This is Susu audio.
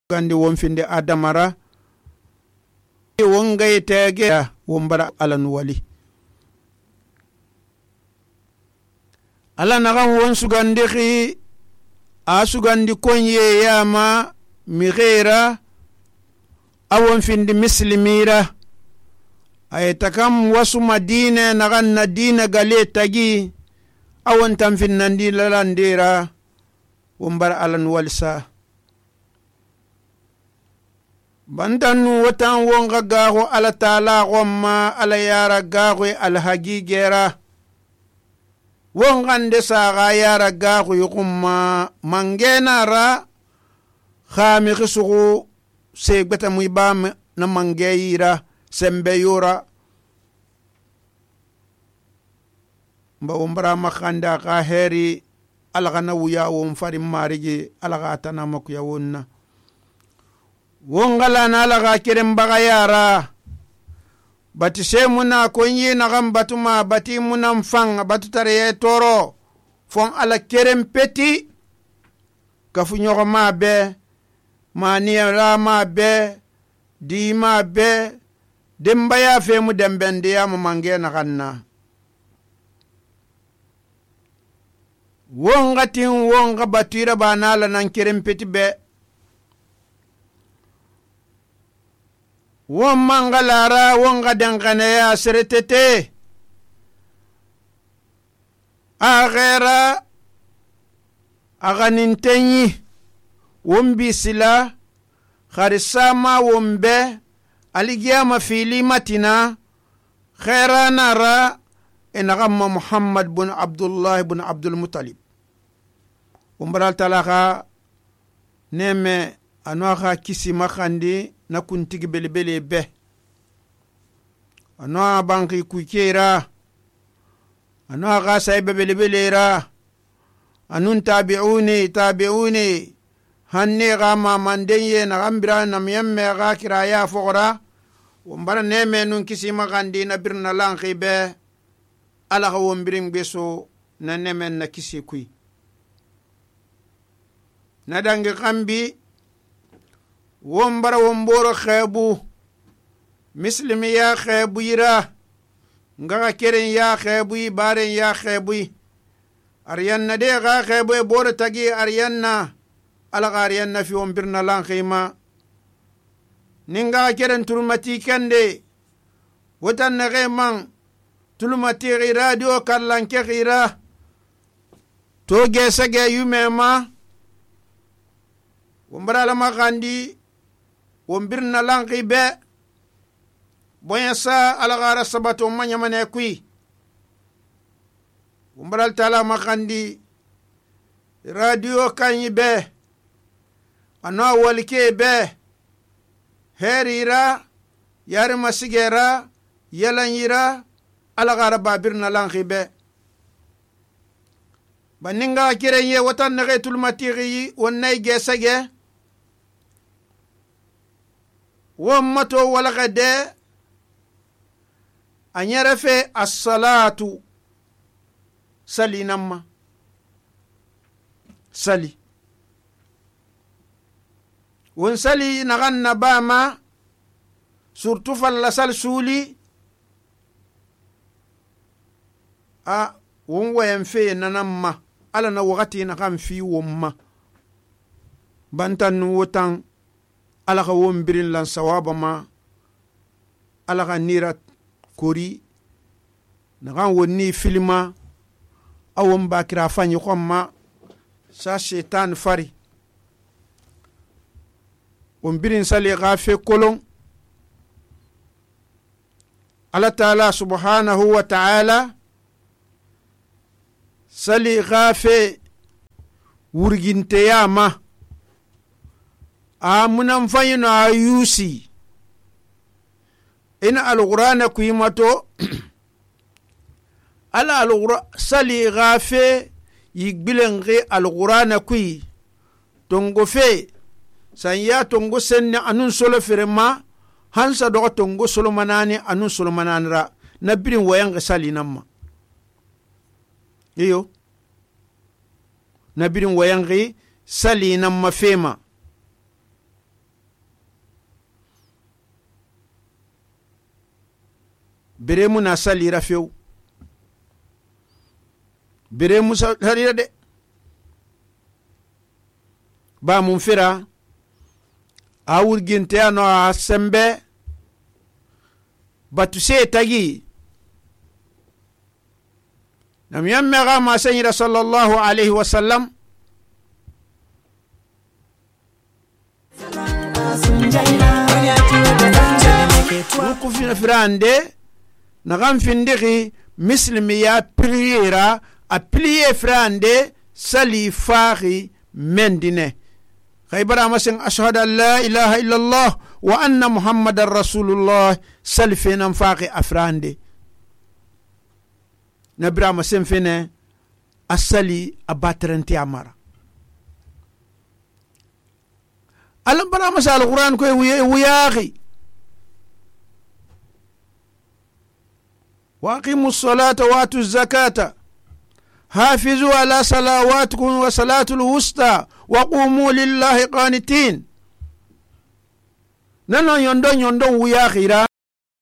gandi won finde adamara won gaye tege won bara ala nu wali ala nagan won sugandi khi a sugandi konye yama mi ghera awon finde muslimira ay takam wasu madina nagan na dina gale tagi awon tan finnandi lalandira won bara ala nu walsa bantannu watan won gagago ala taala gomma ala yara gago al hagigera won gande saga yara gago yugumma mangena ra khami khisugu segbeta muibam na mangeyira sembe yura mba umbra makhanda ka heri ala kana wuya won farim marigi ala gata na makuya wonna wongala na laga kirim baga yara bati semuna konyi na gam batuma bati munam fang batu tare toro fon ala kirim peti kafu nyogo ma be mani ra ma be di ma be demba ya fe mu dembende ya mu mange na ganna wongatin wonga batira banala nan kirim peti be won mangalara wonga dangane ya seretete aghera aganintenyi won bisila kharisama wombe aligiyama fili matina khera nara enagama Muhammad bin Abdullah bin Abdul Muttalib umbral talaka neme anwaxa kisi makhandi na kuntigi belebele be anwa banki kukera anwa ga saybe belebele ra anun tabi'uni hanni ga ma mandenye na gambira na miyemme ga kiraya fogora wombara neme nun kisi makhandi na birna lanki be ala ga wombirin beso na nemen na kisi kui na dangi kambi wombara womboro khebu muslimi ya khebu ira ngaga keren ya khebu baren ya khebu aryanna de ga khebu boro tagi aryanna ala ga aryanna fi wombirna lan khima ninga keren turmati kande wotan na geman tulmati radio kallan ke gira to gesage yumema wombara la magandi wombirna lanqi be boya sa alagara sabato manya mane kui wombara tala magandi radio kanyi be ana walike be herira yar masigera yalanyira alagara babirna lanqi be baninga kirenye watan nage tulmatiri wonnay gesage wammato walagade anyarafe as-salatu salinamma sali won sali naganna bama surtout falla sal suli a won wayan fe nanamma ala na wakati na kan fi womma bantan wotan ala ka wombirin lan sawaba ma ala ka nira kori na kan wonni filma awon bakira fanyi khomma sa shaitan fari wombirin sali gafe kolon ala taala subhanahu wa ta'ala sali gafe wurginte yama amunan fayino ayusi ina alqur'ana kuimato ala alqur'an sali gafe yigbilengi alqur'ana kui tongo fe sanya tongo senne anun solo firma hansa do tongo solo manani anun solo mananra nabirin wayan sali namma iyo nabirin wayan sali namma fema bere mu na salira few bere mu salira de ba mun fira a wurginte ano a sembe batu se tagi nam yamme ga ma sayyida sallallahu alaihi wasallam ku fina firande na gam findigi muslimi ya priera a plier frande sali fari mendine khaybara masin ashhadu an la ilaha illa allah wa anna muhammadar rasulullah salfina faqi afrande nabira masin fene asali abatranti amara alam bara masal alquran ko wiyahi واقيموا الصلاة واتوا الزكاة حافظوا على صلواتكم وصلاة الوسطى وقوموا لله قانتين نانا يندون ويا خيرا